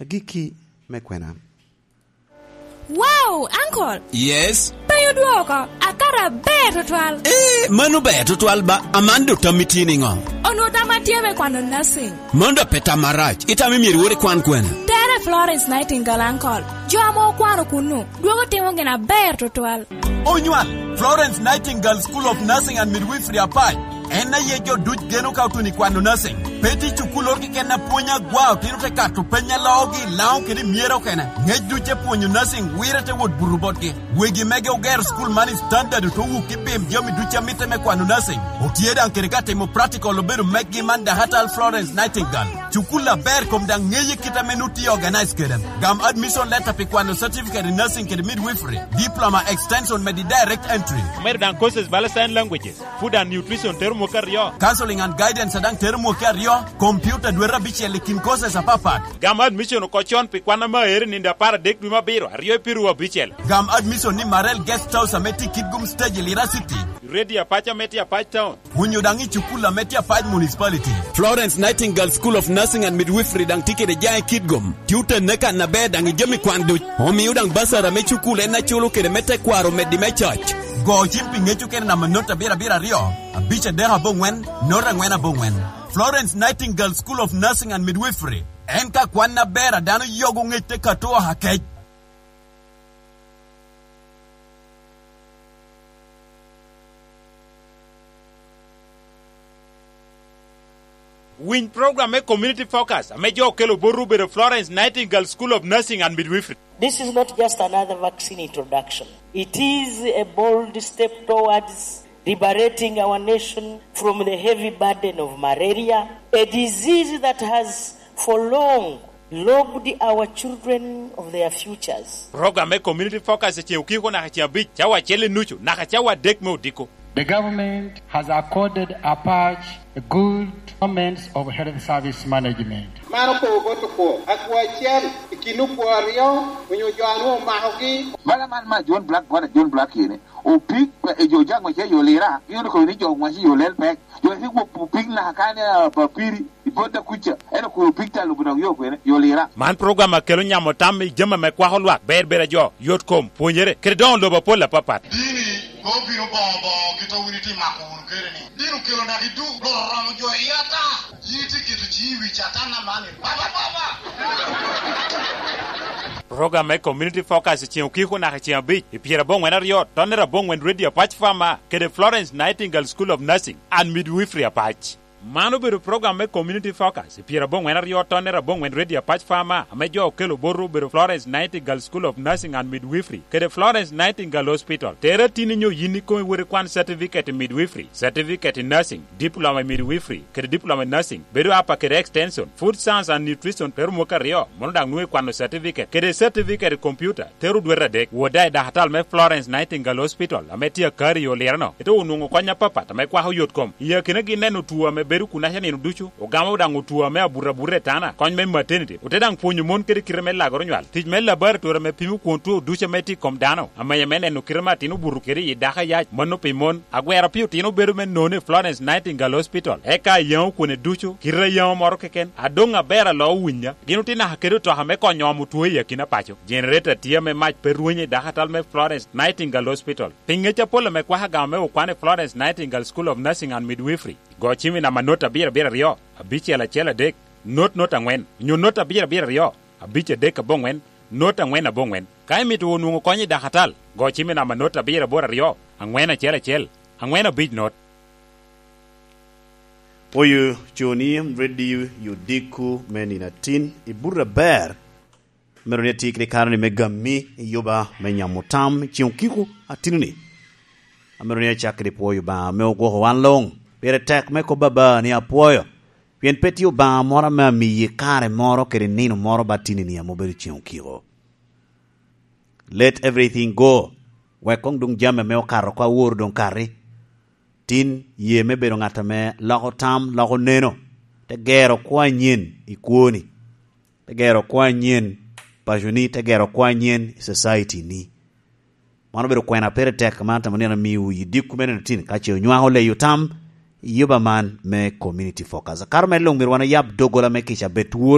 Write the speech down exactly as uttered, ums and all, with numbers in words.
Agikki me kwena. Wow, uncle! Yes? Penyo dwoko, akato aber tutwal. Eh, mano ber tutwal ba, aman do tam itye niŋo? Onwo tam atye me kwano nursing. Mano do pe tam marac, itamo myero iwor ikwan kwena? Tere Florence Nightingale, uncle. Jo ame okwano kunnu, dwogo timo gin aber tutwal. Onywal, Florence Nightingale School of Nursing and Midwifery Apac. En aye jo duc geno ka otuno i kwano nursing. Pe tye cukul oro keken a pwony agwa, otino te kato peny a loogi, Laŋo kede myero okene. Ngec duc te pwonyo nursing, wire te wot buto botgi. Wegi mege ogero cukul man i standard, ote wuk i pim jami duc a mitte me kwano nursing. Otye daŋ kede ka timo practical obedo meggi man dakatal Florence Nightingale. Cukul aber kom daŋ ŋeye kit ame nu tye organize kede. Gam admission letter pi kwano certificate in nursing kede midwifery, diploma, extension medi direct entry. Omedo daŋ courses bala sign languages, food and nutrition tero mwaka aryo. Counseling and guidance daŋ tero mwaka aryo, computer dwete abicel i kin courses apapat. Gam admission oko con pi kwan ame aere nindo apar adek dwe me abiro, aryo i piru abicel. Gam admission ni Marel Guest House ame tye i Kitgum Stage i Lira City. Ready Apac ame tye Apac Town. Onyo daŋ i cukul ame tye Apac Municipality. Florence Nightingale School of Nursing and Midwifery daŋ tye kede jaŋ i Kitgum. Tye otenne kan aber daŋ i jami kwan duc. Omio daŋ basara me cukul en aculo kede me tekwaro meddi me coc. Go cim pi ŋec okene namba not abiro abiro aryo, abic adek aboŋwen, not angwen aboŋwen. Florence Nightingale School of Nursing and Midwifery. En ka kwan aber a dano yogo ŋec te kato oha kec. Winy program me Community Focus ame jo okelo botwu obedo Florence Nightingale School of Nursing and Midwifery. This is not just another vaccine introduction. It is a bold step towards liberating our nation from the heavy burden of malaria, a disease that has for long robbed our children of their futures. Program me Community Focus i ceŋ okiko naka ceŋ abic, cawa acel i nucu naka cawa adek me odiko. The government has accorded Apac a good performance of health service management. Man opo bot okwo, akwo acel i kin okwo aryo onyo jo a nwoŋo omakogi. Bala man ma John Black, gwada John Black kene. Opik, e jo jaŋ wace yo Lira, gin okobo ni jo wace yo lel pek. Jo wace gwok opik naka kane, ah, papiri, i bot da kuca. Ento kun opik ta lubo dok yo kwene, yo Lira. Man program a kelo nyamo tam i jami ame kwako lwak, ber ber a jo, yot kom, pwonyere, kede doŋo lobo apol apapat. Dini, pe obino boŋo boŋo kit a wun itye mako wunu kede ni. Dini okelo naka i duk, Rwot oromo jo i ata. Yin itye keto ciŋi i wi Catan aman, i baba baba. Program me Community Focus i ceŋ okiko naka i ceŋ abic, i pyera aboŋwen aryo, tonnere aboŋwen Radio Apac Farmer, kede Florence Nightingale School of Nursing and Midwifery Apac. Man obedo program me Community Focus i pyera aboŋwen aryo, tonnere aboŋwen Radio Apac Farmer, ame jo okelo botwu obedo Florence Nightingale School of Nursing and Midwifery, kede Florence Nightingale Hospital. Tere tin inyo yin ikomi wot ikwan certificate in midwifery, certificate in nursing, diploma in midwifery, kede diploma in nursing, bedo apa kede extension, food science and nutrition, tero mwaka aryo, mono daŋ nwoŋo ikwano certificate, kede certificate i computer, tero dwete adek, wot daŋ i dakatal me Florence Nightingale Hospital, ame tye akari i Olireno. Ite onwoŋo kony apapat ame kwako yot kom. I akinagi neno two ame bedo kunaca nino ducu, ogamo daŋ two ame abuto abuta i tana, kony me maternity, ote daŋ pwonyo mon kede kite me lagoro nywal, tic me laboratory ame pimo kwon two ducu ame tye i kom dano, amenya me neno kite me atin obuto kede i dako ayac, mano pi mon. Agwero pi otino bedo me nono i Florence Nightingale Hospital, eka ayaŋo kwone ducu, kite ayaŋo moro keken, adoŋ aber aloo winya. Gin otye naka kede otoka me konyo omo two i akina paco. Generator tye ame mac pe rwenyo i dakatal me Florence Nightingale Hospital. Pi ŋec apol ame kwako agama me okwan i Florence Nightingale School of Nursing and Midwifery, go cim i namba not abiro abiro aryo, abicel acel adek, not not angwen, onyo not abiro abiro aryo, abic adek aboŋwen, not angwen aboŋwen. Ka imito wunu nwoŋo kony i dakatal, go cim i namba not abiro aboro aryo, angwen acel acel, angwen abic not. Pwoyo coni, ready, odiko me nino atin, i buto aber. Mero ni atye kede kare ni me gammi i yuba me nyamo tam i ceŋ okiko atinoni. Amito ni acak kede pwoyo Obaŋa ame ogwoko wan luŋ. Pire tek me kobba ba ni apwoyo, pien pe tye Obaŋa moro ame amiyi kare moro kede nino moro ba tinini ame obedo ceŋ okiko. Let everything go. Wek koŋ doŋ jami ame okato oko awor doŋ kati. Tin, ye me bedo ŋat ame loko tam, loko neno, te gero kwo anyen i kwoni, te gero kwo anyen paconi, te gero kwo anyen i society-ni. Man obedo kwena pire tek, man atamo ni an amiwu i dikku me nino tin, ka ce onywako leyo tam i yuba man me Community Focus. Akato mere luŋ myero wan oyab doggola me kica bed twolo,